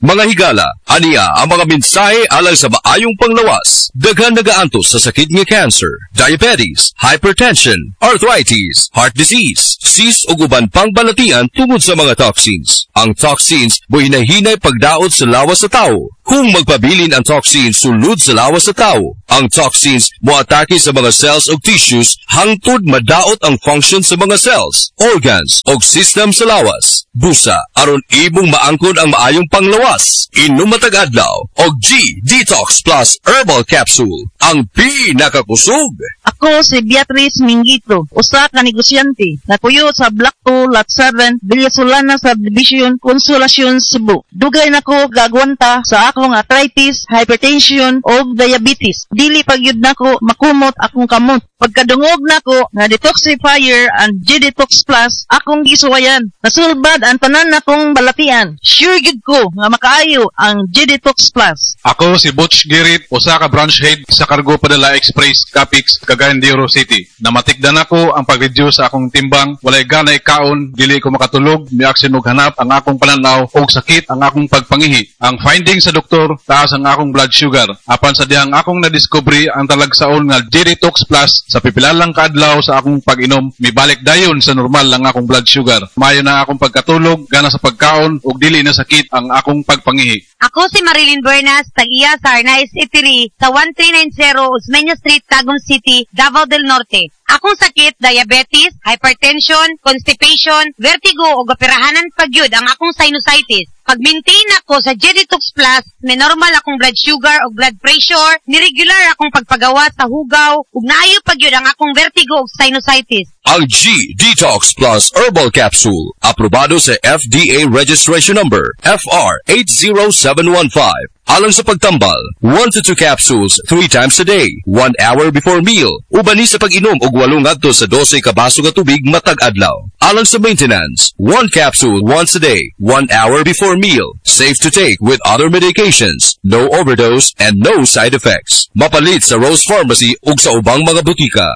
Mga higala, aniya ang mga mensahe alang sa maayong panglawas. Daghan nagaantos sa sakit nga cancer, diabetes, hypertension, arthritis, heart disease, cyst ug uban pang balatian tungod sa mga toxins. Ang toxins mohinay-hinay pagdaot sa lawas sa tao. Kung magpabilin ang toxins sulod sa lawas sa tao, ang toxins moatake sa mga cells ug tissues hangtod madaot ang function sa mga cells, organs ug system sa lawas. Busa, aron imong maangkon ang maayong panglawas, inom matag adlaw og G Detox Plus Herbal Capsule, ang pinakakusog. Ako si Beatrice Mingito, usa ka negosyante, napuyo sa Block 2, Lot 7, Villa Solana Subdivision, Consolacion, Cebu. Dugay nako gagwanta sa akong arthritis, hypertension ug diabetes. Dili pa gyud nako makumot akong kamot. Pagkadungog nako nga detoxifier and G-Detox Plus akong gisuwayan. Nasulbad ang tanan nakong balatian. Sure gyud ko nga makaayo ang G-Detox Plus. Ako si Butch Girit, usa ka branch head sa Cargo Padala Express, Capix, Cagayan de Oro City. Namatikdan ako ang pag-reduce sa akong timbang, walay ganay kaon, dili ko makatulog, miaksyon og hanap ang akong pananaw og sakit ang akong pagpangihi. Ang finding sa doktor, taas ang akong blood sugar. Apan sa dihang akong nadiskubre ang talagsaon nga G-Detox Plus, sa pipila lang kaadlaw sa akong pag-inom, mibalik dayon sa normal ang akong blood sugar. Maayo na akong pagkatulog, gana sa pagkaon ug dili na sakit ang akong pagpangihi. Ako si Marilyn Bernas, tag-iya sa Arnaiz Eatery sa 1390 Osmeña Street, Tagum City, Davao del Norte. Akong sakit, diabetes, hypertension, constipation, vertigo ug operahanan pagyud ang akong sinusitis. Pag-maintain ako sa G-Detox Plus, may normal akong blood sugar ug blood pressure, ni-regular akong pagpagawa sa hugaw, ug naayo pagyud ang akong vertigo ug sinusitis. Ang G Detox Plus Herbal Capsule, aprobado sa FDA registration number FR 80715. Alang sa pagtambal, 1 to 2 capsules 3 times a day, 1 hour before meal. Uban ni sa pag-inom og 8 ngadto sa 12 ka baso nga tubig matag adlaw. Alang sa maintenance, 1 capsule once a day, 1 hour before meal. Safe to take with other medications. No overdose and no side effects. Mapalit sa Rose Pharmacy ug sa ubang mga butika.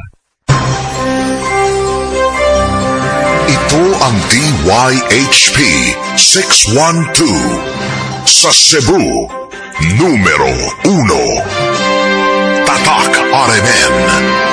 Ito ang DYHP 612 sa Cebu, numero 1. Tatak RMN.